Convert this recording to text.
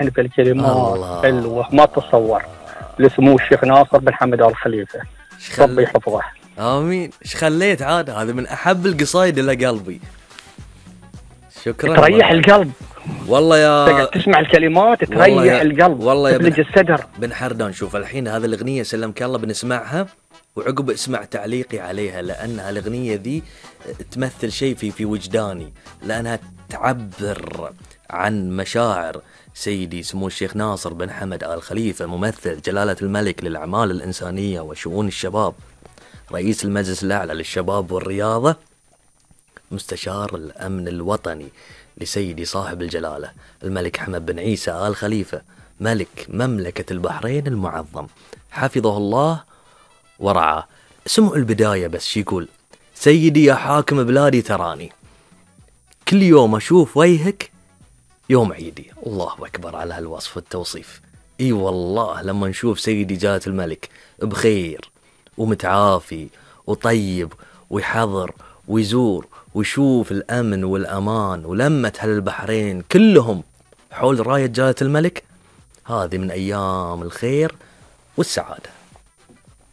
يعني في الكلمات الله. حلوة ما تتصور. لسمو الشيخ ناصر بن حمد آل خليفة، ربي يحفظه. آمين. إيش خليت عاد، هذا من أحب القصايد إلى قلبي. شكرا. تريح القلب والله يا تسمع الكلمات تريح القلب، والله يا تفلج الصدر. بن حردان، شوف الحين هذه الأغنية سلمك الله بنسمعها، وعقب اسمع تعليقي عليها، لأنها الأغنية ذي تمثل شيء في وجداني، لأنها تعبر عن مشاعر سيدي سمو الشيخ ناصر بن حمد آل خليفة، ممثل جلالة الملك للأعمال الإنسانية وشؤون الشباب، رئيس المجلس الأعلى للشباب والرياضة، مستشار الأمن الوطني لسيدي صاحب الجلالة الملك حمد بن عيسى آل خليفة، ملك مملكة البحرين المعظم، حفظه الله ورعاه. سمعوا البداية بس شي يقول: سيدي يا حاكم بلادي تراني، كل يوم أشوف وجهك يوم عيدي. الله أكبر على هالوصف والتوصيف. إي والله لما نشوف سيدي جلالة الملك بخير ومتعافي وطيب ويحضر ويزور ويشوف الأمن والأمان ولمة أهل البحرين كلهم حول راية جلالة الملك، هذه من أيام الخير والسعادة.